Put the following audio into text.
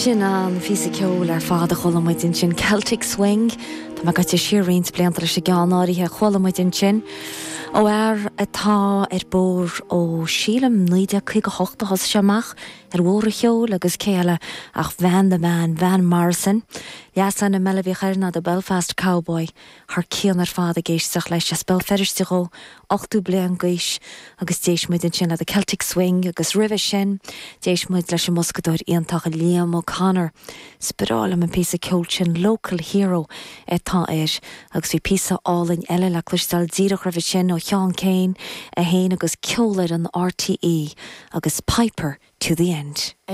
Sin an phíosa ceoil ar fad a chuala muid ansin, Celtic Swing. Tá mé gaibhte siar roinnt blianta leis an gceann áirithe a chuala muid ansin. Ó fhear atá ar bóthar ó, sílim, 1958 a thosaigh sé amach ar bhóthar an cheoil agus cé eile ach Van the Man, Van Morrison. Leasainm eile a bhíodh air ná The Belfast Cowboy. Thar cionn ar fad ag éisteacht leis as Béal Feirste dhó, 80 bliain d'aois agus d'éist muid ansin le The Celtic Swing agus roimhe sin d'éist muid leis an mboscadóir iontach Liam O'Connor. Is breá liom an píosa ceoil sin, Local Hero atá air agus bhí píosa álainn eile le cloisteáil díreach roimhe sin ó Sheán Keane é féin agus Ceolfhoireann RTÉ agus Piper to the End.